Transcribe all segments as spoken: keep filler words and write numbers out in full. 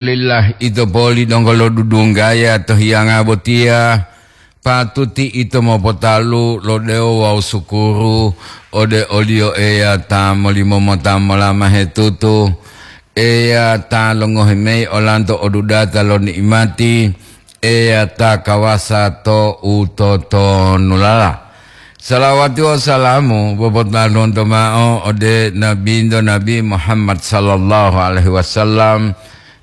Alhamdulillah, ito poli donggo lodudunggaya to hiyanga botiya, patuti ito mopotalu lo dewo wawu sukuru ode o-Liyo Eya ta molimo mota molamahe tutu, Eya ta longohi mayi olanto odudata lo ni'imati, Eya ta kawasa to utotonulala. Salawati wawu salamu popotaluwonto mao ode Nabinto Nabi Muhammad sallallahu alaihi wasallam,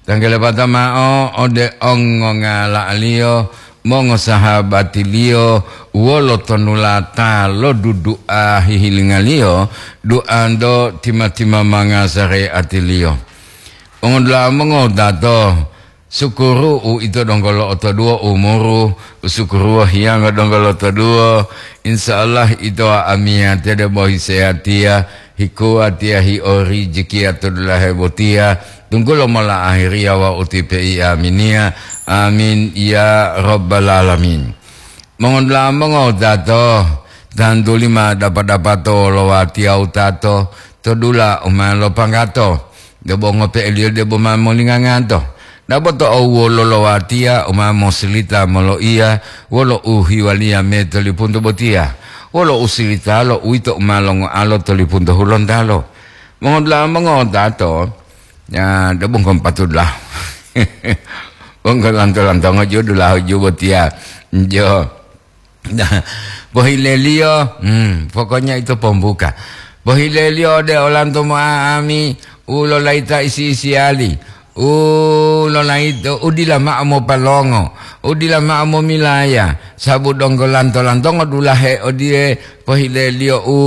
tanggelepata mao ode ongongala'aliyo, mongosahabatiliyo, wolo tonulata lo dudu'a hihilingaliyo, du'anto tima-timamanga sare'atiliyo. Mongodula'a mongotato, sukuru u ito donggo lo'otoduwo umuru, u sukuruwo hiyanga donggo lo'otoduwo, insya Allah ito amiyatiya debo hisehatiya, hikuwatiya hiorijiki to dulahe botiya, tunggulo mola ahiriya wawu utipe'i aminiya. Amin ya rabbal alamin. Mongodula'a mongotato, tantuli ma dapa-dapato lo watiya wutato to dula u ma lopanggato, debo ngope'eliyo debo ma molinganganto. Dabo to owuwolo lo watiya u ma mosilita moloiya wolo u hiwaliya me to lipunto botiya, wolo usilitalo uwito u ma longoalo to lipunto hulontalo. Mongodula'a mongotato, ya, debo nggo patudula'a. Wonggo lanto-lantongo ju dulahu ju botiya. Jo. Pohileliyo, hmm, pokoknya ito pombuka. Pohileliyo ode olanto mo'a'ami u lolayita isi-isiyali, u lolayito u dila ma'o mopalongo, u dila ma'o momilaya, sabu donggo lanto-lantongo dulahe odiye pohileliyo u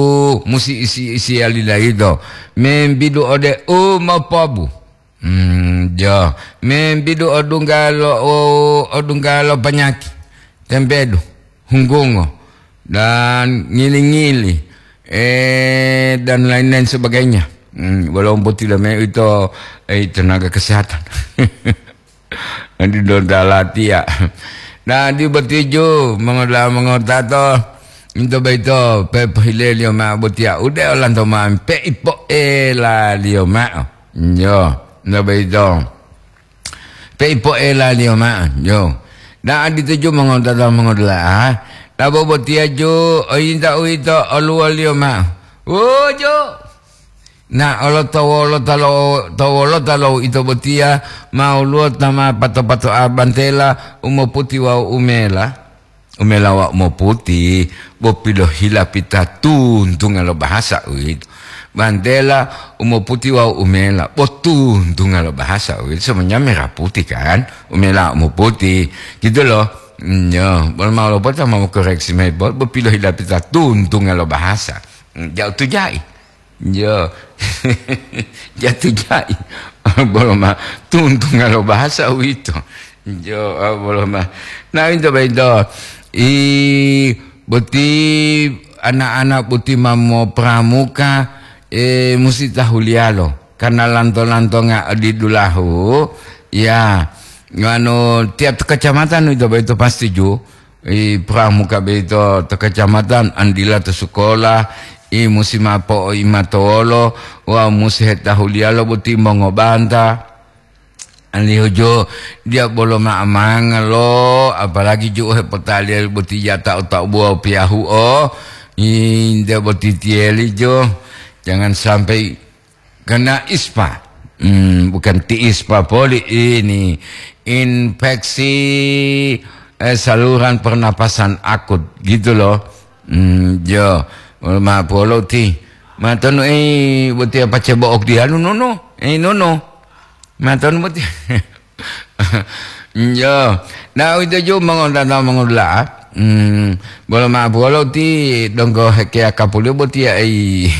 musi isi-isiyali layito, membidu ode u mopobu. Hmm, jo, membidu odungga lo, o-, odungga lo panyaki, tempedu, hunggungo, dan ngili-ngili, eh, dan lain-lain sebagainya. Hmm, walaupun tidak me-, itu, eh, tenaga kesehatan. Di donda latiya. Nah, di botiju, mongoda'a mongotato, into boyito, pepohileliyo ma'o botiya, ude olanto ma'o, peipoelaliyo ma'o. Yo, nto boyito. Peipoelaliyo ma'o, yo. Da'a dituju mongotato mongodula'a, labo botiya ju, oyinta uwito oluwoliyo ma'o. Wuju! Na olo to wolota lo, to wolota lo ito botiya ma woluwo ta ma pato-pato'a bantela u moputi wawu umela, umela wawu moputi, bo pilohilapita tuntunga lo bahasa uwito. Bantela u moputi wawu umela, bo tuntunga lo bahasa uwito, semuanya merah putih kan, umela wawu moputi, gitu loh. Nyo, bolo ma lopota ma mokoreksi mayi, bo, bo pilohilapita tuntunga lo bahasa. Ja'u tuja'i. Jo. Jatuh jai. Bolo ma tuntunga lo bahasa uwito. Jo, ah, bolo ma. Nah, uwito boyito. I boti anak-anak boti ma mopramuka, eh, musi tahuliyalo. Karena lanto-lantonga odi dulahu, ya, nganu, tiap kecamatan uwito boyito pasti ju. I pramuka boyito to kacamatan, andila to sukola, i musi mao po'oimatowolo wawu musi hetahuliyalo boti mongobanta. Alihu jo, diya bolo ma'amanga lo, apalagi ju u hepotaliya boti jata u ta'ubuwa u piyahu'o, i nte boti tiyeli jo, jangan sampai kena ispa. Hmm, bukan ti ispa poli ini. Infeksi, eh, saluran pernapasan akut, gitu loh. Hmm, jo. Ma polo ti. Ma tonu, eh, boti apa cebo'ok di anu, nono? Eh, nono. Ma tonu boti. Njo. Nah, uwito ju mongontata mongodula'a. Hmm, bolo ma'o bolo ti donggo hekeya kapuliyo botiya, ei,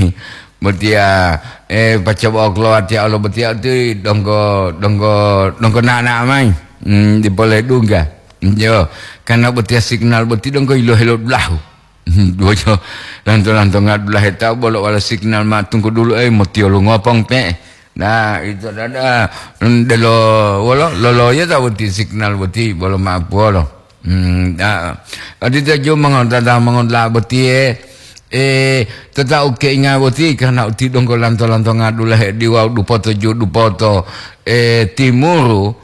botiya, eh, pacoba oklowa tiya olo botiya ti donggo, donggo, donggo na'na'a mayi. Hmm, dipole dungga. Njo. Karena botiya signal boti donggo yilohe lo dulahu. Duwojo lanto-lanto ngadulahe tawu bolo wala signal ma tunggu dulu, eh, motiyolu ngopong pe'e. Nah, ito dada, mm, delo wolo, loloyo ta boti signal boti, bolo ma'o polo. Hmm, nah, odito ju mongontata mongontala botiye, E, totau keinga boti karena uti donggo lanto-lantonga dulahe diwau dupoto ju dupoto, e, timuru,